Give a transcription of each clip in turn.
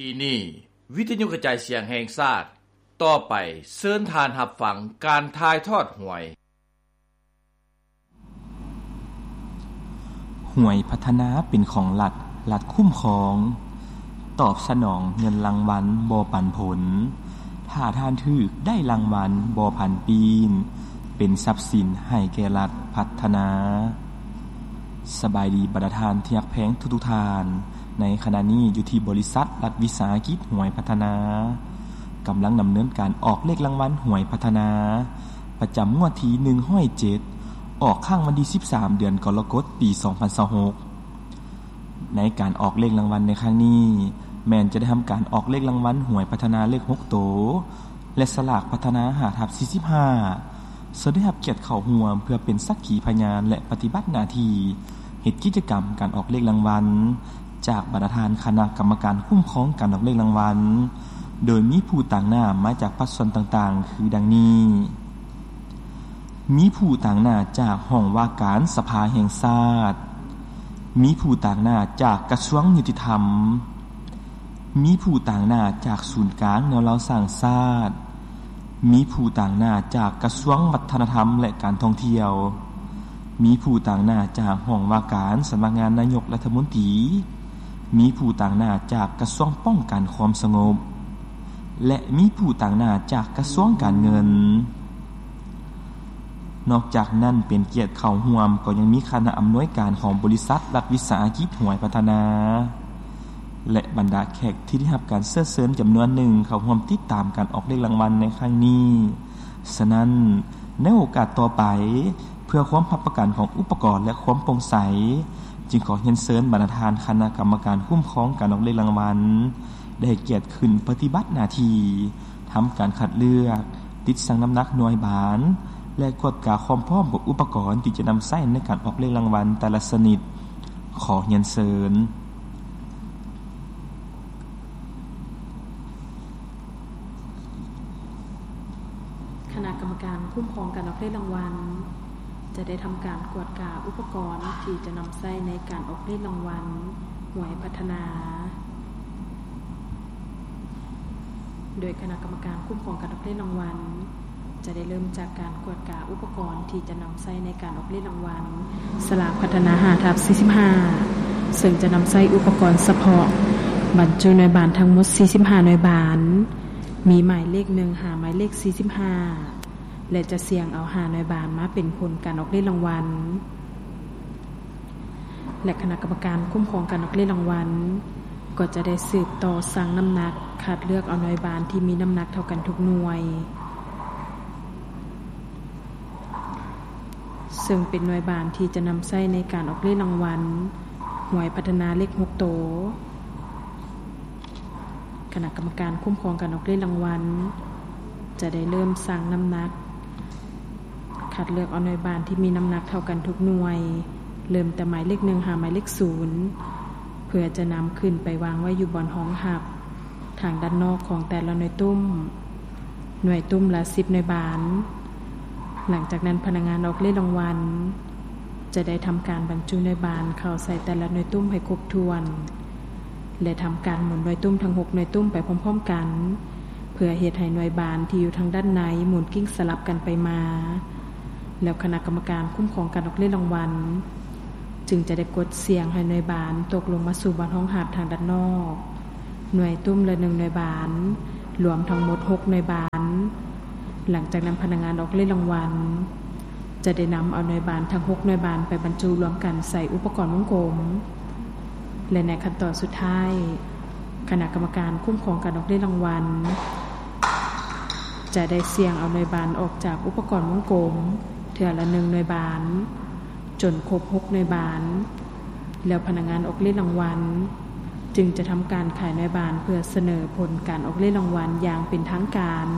ທີ່ນີ້ ວິທະຍຸກະຈາຍສຽງແຫ່ງຊາດ, ຕໍ່ໄປເຊີນທ່ານຮັບຟັງການຖ່າຍທອດຫວຍ. ຫວຍພັດທະນາເປັນຂອງລັດ, ລັດຄຸ້ມຄອງ, ຕອບສະໜອງເງິນລາງວັນບໍ່ປັນຜົນ, ຖ້າທ່ານຖືກໄດ້ລາງວັນບໍ່ຜັນປີນ, ເປັນຊັບສິນໃຫ້ແກ່ລັດພັດທະນາ. ສະບາຍດີບັນດາທ່ານທີ່ຮັກແພງທຸກໆທ່ານ. ໃນຂະນະນີ້ຢູ່ທີ່ບໍລິສັດລັດວິສາຫະກິດຫວຍພັດທະນາ ກຳລັງດຳເນີນການອອກເລກລາງວັນຫວຍພັດທະນາ ປະຈຳງວດທີໜຶ່ງຮ້ອຍເຈັດ ອອກຄັ້ງວັນທີສິບສາມ ເດືອນກໍລະກົດ ປີສອງພັນຊາວຫົກ. ໃນການອອກເລກລາງວັນໃນຄັ້ງນີ້ ແມ່ນຈະໄດ້ທຳການອອກເລກລາງວັນຫວຍພັດທະນາເລກຫົກໂຕ ແລະ ສະຫຼາກພັດທະນາຫ້າທັບສີ່ສິບຫ້າ ເຊິ່ງໄດ້ຮັບກຽດເຂົ້າຮ່ວມເພື່ອເປັນສັກຂີພະຍານ ແລະ ປະຕິບັດໜ້າທີ່ເຮັດກິດຈະກຳການອອກເລກລາງວັນ ຈາກບັນດາທ່ານຄະນະກຳມະການຄຸ້ມຄອງການອອກເລກລາງວັນ, ໂດຍມີຜູ້ຕາງໜ້າມາຈາກພາກສ່ວນຕ່າງໆ ຄືດັ່ງນີ້: ມີຜູ້ຕາງໜ້າຈາກຫ້ອງວ່າການສະພາແຫ່ງຊາດ, ມີຜູ້ຕາງໜ້າຈາກກະຊວງຍຸຕິທຳ, ມີຜູ້ຕາງໜ້າຈາກສູນກາງແນວລາວສ້າງຊາດ, ມີຜູ້ຕາງໜ້າຈາກກະຊວງວັດທະນະທຳ ແລະ ການທ່ອງທ່ຽວ, ມີຜູ້ຕາງໜ້າຈາກຫ້ອງວ່າການສຳນັກງານນາຍົກລັດຖະມົນຕີ, ມີຜູ້ຕາງໜ້າຈາກກະຊວງປ້ອງກັນຄວາມສະຫງົບ ແລະ ມີຜູ້ຕາງໜ້າຈາກກະຊວງການເງິນ. ນອກຈາກນັ້ນ ເປັນກຽດເຂົ້າຮ່ວມກໍຍັງມີຄະນະອຳນວຍການຂອງບໍລິສັດລັດວິສາຫະກິດຫວຍພັດທະນາ ແລະ ບັນດາແຂກທີ່ໄດ້ຮັບການເຊີນເຊີນຈຳນວນໜຶ່ງເຂົ້າຮ່ວມຕິດຕາມການອອກເລກລາງວັນໃນຄັ້ງນີ້. ສະນັ້ນ, ໃນໂອກາດຕໍ່ໄປ, ເພື່ອຄວາມຮັບປະກັນຂອງອຸປະກອນ ແລະ ຄວາມໂປ່ງໃສ, ຈຶ່ງຂໍຮຽນເຊີນບັນດາທ່ານຄະນະກຳມະການຄຸ້ມຄອງການອອກເລກລາງວັນ ໄດ້ໃຫ້ກຽດຂຶ້ນປະຕິບັດໜ້າທີ່ ທຳການຄັດເລືອກ, ຕິດຊັ່ງນ້ຳໜັກໜ່ວຍບານ ແລະ ກວດກາຄວາມພ້ອມຂອງອຸປະກອນທີ່ຈະນຳໃຊ້ໃນການອອກເລກລາງວັນແຕ່ລະຊະນິດ. ຂໍຮຽນເຊີນ. ຄະນະກຳມະການຄຸ້ມຄອງການອອກເລກລາງວັນ ຈະໄດ້ທຳການກວດກາອຸປະກອນທີ່ຈະນຳໃຊ້ໃນການອອກເລກລາງວັນຫວຍພັດທະນາ ໂດຍຄະນະກຳມະການຄຸ້ມຄອງການອອກເລກລາງວັນ ຈະໄດ້ເລີ່ມຈາກການກວດກາອຸປະກອນທີ່ຈະນຳໃຊ້ໃນການອອກເລກລາງວັນສະຫຼາກພັດທະນາຫ້າທັບສີ່ສິບຫ້າ ເຊິ່ງຈະນຳໃຊ້ອຸປະກອນສະເພາະ ບັນຈຸໜ່ວຍບານທັງໝົດສີ່ສິບຫ້າໜ່ວຍບານ, ມີໝາຍເລກໜຶ່ງຫາໝາຍເລກສີ່ສິບຫ້າ ແລະ ຈະສ່ຽງເອົາຫ້າໜ່ວຍບານມາເປັນຜົນການອອກເລກລາງວັນ ແລະ ຄະນະກຳມະການຄຸ້ມຄອງການອອກເລກລາງວັນ ກໍຈະໄດ້ສືບຕໍ່ຊັ່ງນ້ຳໜັກ ຄັດເລືອກເອົາໜ່ວຍບານທີ່ມີນ້ຳໜັກເທົ່າກັນທຸກໜ່ວຍ ເຊິ່ງເປັນໜ່ວຍບານທີ່ຈະນຳໃຊ້ໃນການອອກເລກລາງວັນຫວຍພັດທະນາເລກຫົກໂຕ. ຄະນະກຳມະການຄຸ້ມຄອງການອອກເລກລາງວັນ ຈະໄດ້ເລີ່ມຊັ່ງນ້ຳໜັກ ຄັດເລືອກເອົາໜ່ວຍບານທີ່ມີນ້ຳໜັກເທົ່າກັນທຸກໜ່ວຍ ເລີ່ມແຕ່ໝາຍເລກໜຶ່ງຫາໝາຍເລກສູນ ເພື່ອຈະນຳຂຶ້ນໄປວາງໄວ້ຢູ່ບ່ອນຮອງຮັບ ທາງດ້ານນອກຂອງແຕ່ລະໜ່ວຍຕຸ້ມ, ໜ່ວຍຕຸ້ມລະສິບໜ່ວຍບານ. ຫຼັງຈາກນັ້ນ ພະນັກງານອອກເລກລາງວັນ ຈະໄດ້ທຳການບັນຈຸໜ່ວຍບານເຂົ້າໃສ່ແຕ່ລະໜ່ວຍຕຸ້ມໃຫ້ຄົບຖ້ວນ ແລະ ທຳການໝູນໜ່ວຍຕຸ້ມທັງຫົກໜ່ວຍຕຸ້ມໄປພ້ອມໆກັນ ເພື່ອເຮັດໃຫ້ໜ່ວຍບານທີ່ຢູ່ທາງດ້ານໃນໝູນກິ້ງສະຫຼັບກັນໄປມາ. ແລ້ວຄະນະກຳມະການຄຸ້ມຄອງການອອກເລກລາງວັນ ຈຶ່ງຈະໄດ້ກົດສ່ຽງໃຫ້ໜ່ວຍບານຕົກລົງມາສູ່ບ່ອນຮອງຮັບທາງດ້ານນອກ. ໜ່ວຍຕຸ້ມລະໜຶ່ງໜ່ວຍບານ, ລວມທັງໝົດຫົກໜ່ວຍບານ. ຫຼັງຈາກນັ້ນ ພະນັກງານອອກເລກລາງວັນ ຈະໄດ້ນຳເອົາໜ່ວຍບານທັງຫົກໜ່ວຍບານໄປບັນຈຸລວມກັນໃສ່ອຸປະກອນວົງກົມ ແລະ ໃນຂັ້ນຕອນສຸດທ້າຍ ຄະນະກຳມະການຄຸ້ມຄອງການອອກເລກລາງວັນ ຈະໄດ້ສ່ຽງເອົາໜ່ວຍບານອອກຈາກອຸປະກອນວົງກົມເທື່ອລະໜຶ່ງໜ່ວຍບານ ຈົນຄົບຫົກໜ່ວຍບານ, ແລ້ວພະນັກງານອອກເລກລາງວັນ ຈຶ່ງຈະທຳການຂາຍໜ່ວຍບານເພື່ອສະເໜີຜົນການອອກເລກລາງວັນຢ່າງເປັນທາງການ.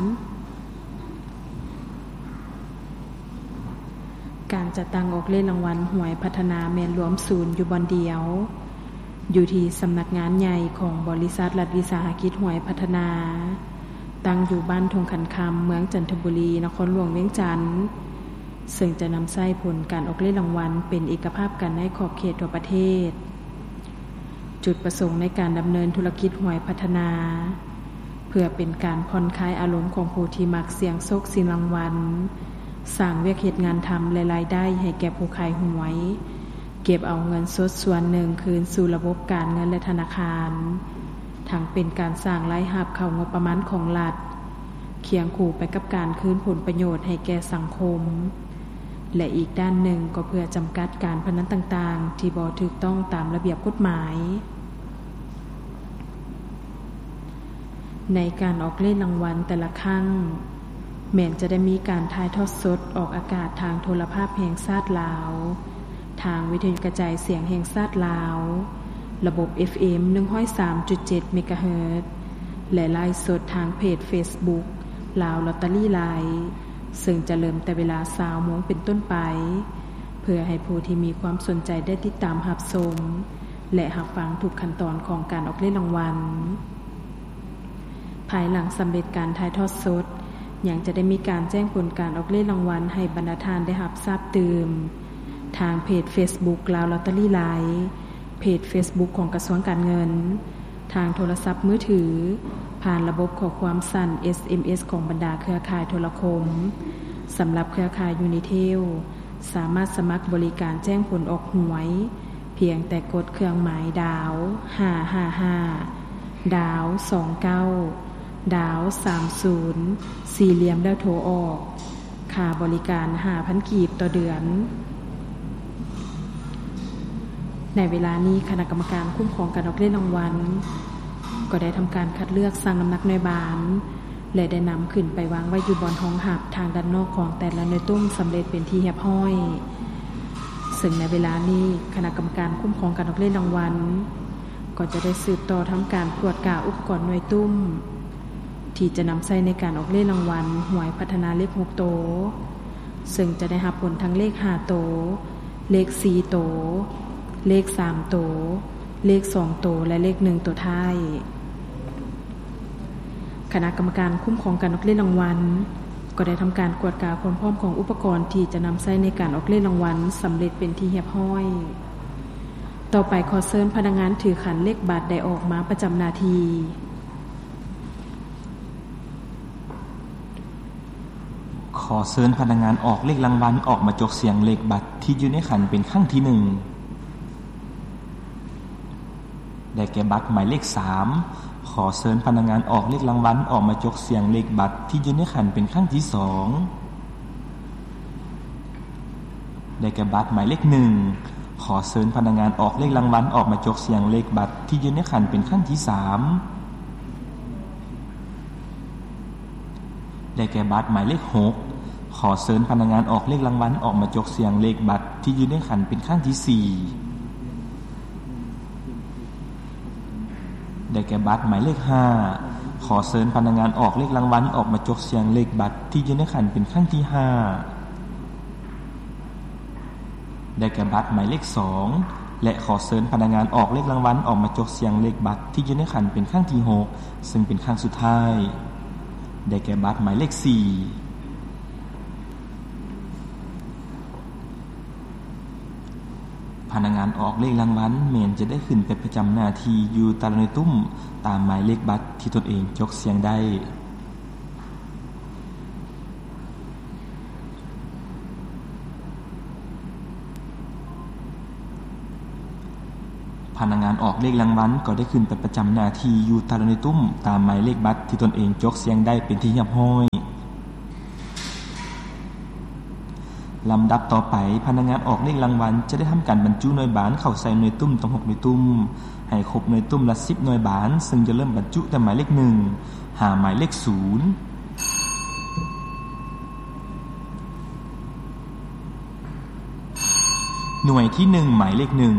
ການຈັດຕັ້ງອອກເລກລາງວັນຫວຍພັດທະນາແມ່ນລວມສູນຢູ່ບ່ອນດຽວ ຢູ່ທີ່ສຳນັກງານໃຫຍ່ຂອງບໍລິສັດລັດວິສາຫະກິດຫວຍພັດທະນາ, ຕັ້ງຢູ່ບ້ານທົ່ງຂັນຄຳ, ເມືອງຈັນທະບູລີ, ນະຄອນຫຼວງວຽງຈັນ, ເຊິ່ງຈະນຳໃຊ້ຜົນການອອກເລກລາງວັນເປັນເອກະພາບກັນໃນຂອບເຂດທົ່ວປະເທດ. ໂຈ ຈຸດປະສົງໃນການດຳເນີນທຸລະກິດຫວຍພັດທະນາ ເພື່ອເປັນການຜ່ອນຄາຍອາລົມຂອງຜູ້ທີ່ມັກສ່ຽງໂຊກສ່ຽງລາງວັນ, ສ້າງວຽກເຮັດງານທຳ ແລະ ລາຍໄດ້ໃຫ້ແກ່ຜູ້ຂາຍຫວຍ, ເກັບເອົາເງິນສົດສ່ວນໜຶ່ງຄືນສູ່ລະບົບການເງິນ ແລະ ທະນາຄານ, ທັງເປັນການສ້າງລາຍຮັບເຂົ້າງົບປະມານຂອງລັດ, ຄຽງຄູ່ໄປກັບການຄືນຜົນປະໂຫຍດໃຫ້ແກ່ສັງຄົມ ແລະ ອີກດ້ານໜຶ່ງກໍເພື່ອຈຳກັດການພະນັນຕ່າງໆ ທີ່ບໍ່ຖືກຕ້ອງຕາມລະບຽບກົດໝາຍ. ໃນການອອກເລກລາງວັນແຕ່ລະຄັ້ງ ແມ່ນຈະໄດ້ມີການຖ່າຍທອດສົດອອກອາກາດທາງໂທລະພາບແຫ່ງຊາດລາວ, ທາງວິທະຍຸກະຈາຍສຽງແຫ່ງຊາດລາວ, ລະບົບ ເອັຟເອັມ ໜຶ່ງຮ້ອຍສາມຈຸດເຈັດ ເມກາເຮີດ ແລະ ໄລຟ໌ສົດທາງເພຈເຟສບຸກ ລາວລອດຕະຣີໄລຟ໌ ເຊິ່ງຈະເລີ່ມແຕ່ເວລາ ຊາວໂມງເປັນຕົ້ນໄປ ເພື່ອໃຫ້ຜູ້ທີ່ມີຄວາມສົນໃຈໄດ້ຕິດຕາມຮັບຊົມ ແລະ ຮັບຟັງທຸກຂັ້ນຕອນຂອງການອອກເລກລາງວັນ. ພາຍຫຼັງສຳເລັດການຖ່າຍທອດສົດ, ຍັງຈະໄດ້ມີການແຈ້ງຜົນການອອກເລກລາງວັນໃຫ້ບັນດາທ່ານໄດ້ຮັບຊາບຕື່ມ ທາງເພຈເຟສບຸກ ລາວລອດຕະຣີໄລຟ໌, ເພຈເຟສບຸກຂອງກະຊວງການເງິນ, ທາງໂທລະສັບມືຖື, ຜ່ານລະບົບຂໍ້ຄວາມສັ້ນ ເອສເອັມເອສ ຂອງບັນດາເຄືອຂ່າຍໂທລະຄົມ. ສຳລັບເຄືອຂ່າຍຢູນິເທລ ສາມາດສະໝັກບໍລິການແຈ້ງຜົນອອກຫວຍ ພຽງແຕ່ກົດເຄື່ອງໝາຍດາວ ຫ້າຫ້າຫ້າ ດາວ ສອງເກົ້າ ດາວ ສາມສູນ ສີ່ຫຼ່ຽມ ແລ້ວໂທອອກ. ຄ່າບໍລິການ ຫ້າພັນກີບຕໍ່ເດືອນ. ໃນເວລານີ້ ຄະນະກຳມະການຄຸ້ມຄອງການອອກເລກລາງວັນ ກໍໄດ້ທຳການຄັດເລືອກ, ຊັ່ງນ້ຳໜັກໜ່ວຍບານ ແລະ ໄດ້ນຳຂຶ້ນໄປວາງໄວ້ຢູ່ບ່ອນຮອງຮັບທາງດ້ານນອກຂອງແຕ່ລະໜ່ວຍຕຸ້ມສຳເລັດເປັນທີ່ຮຽບຮ້ອຍ. ເຊິ່ງໃນເວລານີ້ ຄະນະກຳມະການຄຸ້ມຄອງການອອກເລກລາງວັນ ກໍຈະໄດ້ສືບຕໍ່ທຳການກວດກາອຸປະກອນໜ່ວຍຕຸ້ມ ທີ່ຈະນຳໃຊ້ໃນການອອກເລກລາງວັນຫວຍພັດທະນາເລກຫົກໂຕ, ເຊິ່ງຈະໄດ້ຮັບຜົນທັງເລກຫ້າໂຕ, ເລກສີ່ໂຕ, ເລກສາມໂຕ, ເລກສອງໂຕ ແລະ ເລກໜຶ່ງໂຕທ້າຍ. ຄະນະກຳມະການຄຸ້ມຄອງການອອກເລກລາງວັນ ກໍໄດ້ທຳການກວດກາຄວາມພ້ອມຂອງອຸປະກອນທີ່ຈະນຳໃຊ້ໃນການອອກເລກລາງວັນສຳເລັດເປັນທີ່ຮຽບຮ້ອຍ. ຕໍ່ໄປ ຂໍເຊີນພະນັກງານຖືຂັນເລກບັດໄດ້ອອກມາປະຈຳໜ້າທີ່. ຂໍເຊີນພະນັກງານອອກເລກລາງວັນອອກມາຈົກສ່ຽງເລກບັດທີ່ຢູ່ໃນຂັນເປັນຄັ້ງທີໜຶ່ງ. ໄດ້ແກ່ບັດໝາຍເລກສາມ. ຂໍເຊີນພະນັກງານອອກເລກລາງວັນອອກມາຈົກສ່ຽງເລກບັດທີ່ຢູ່ໃນຂັນເປັນຄັ້ງທີສອງ. ໄດ້ແກ່ບັດໝາຍເລກໜຶ່ງ. ຂໍເຊີນພະນັກງານອອກເລກລາງວັນອອກມາຈົກສ່ຽງເລກບັດທີ່ຢູ່ໃນຂັນເປັນຄັ້ງທີສາມ. ໄດ້ແກ່ບັດໝາຍເລກຫົກ. ຂໍເຊີນພະນັກງານອອກເລກລາງວັນອອກມາຈົກສ່ຽງເລກບັດທີ່ຢູ່ໃນຂັນເປັນຄັ້ງທີສີ່. ໄດ້ແກ່ບັດໝາຍເລກຫ້າ. ຂໍເຊີນພະນັກງານອອກເລກລາງວັນອອກມາຈົກສ່ຽງເລກບັດທີ່ຢູ່ໃນຂັນເປັນຄັ້ງທີຫ້າ. ໄດ້ແກ່ບັດໝາຍເລກສອງ ແລະ ຂໍເຊີນພະນັກງານອອກເລກລາງວັນອອກມາຈົກສ່ຽງເລກບັດທີ່ຢູ່ໃນຂັນເປັນຄັ້ງທີຫົກ ເຊິ່ງເປັນຄັ້ງສຸດທ້າຍ. ໄດ້ແກ່ບັດໝາຍເລກສີ່. ພະນັກງານອອກເລກລາງວັນແມ່ນຈະໄດ້ຂຶ້ນໄປປະຈຳໜ້າທີ່ຢູ່ແຕ່ລະໜ່ວຍຕຸ້ມຕາມໝາຍເລກບັດທີ່ຕົນເອງຈົກສ່ຽງໄດ້. ພະນັກງານອອກເລກລາງວັນກໍໄດ້ຂຶ້ນໄປປະຈຳໜ້າທີ່ຢູ່ແຕ່ລະໜ່ວຍຕຸ້ມຕາມໝາຍເລກບັດທີ່ຕົນເອງຈົກສ່ຽງໄດ້ເປັນທີ່ຮຽບຮ້ອຍ. ລຳດັບຕໍ່ໄປ, ພະນັກງານອອກເລກລາງວັນຈະໄດ້ທຳການບັນຈຸໜ່ວຍບານເຂົ້າໃສ່ໜ່ວຍຕຸ້ມທັງຫົກໜ່ວຍຕຸ້ມ ໃຫ້ຄົບໜ່ວຍຕຸ້ມລະສິບໜ່ວຍບານ, ເຊິ່ງຈະເລີ່ມບັນຈຸແຕ່ໝາຍເລກໜຶ່ງ ຫາໝາຍເລກສູນ. ໜ່ວຍທີໜຶ່ງ ໝາຍເລກໜຶ່ງ.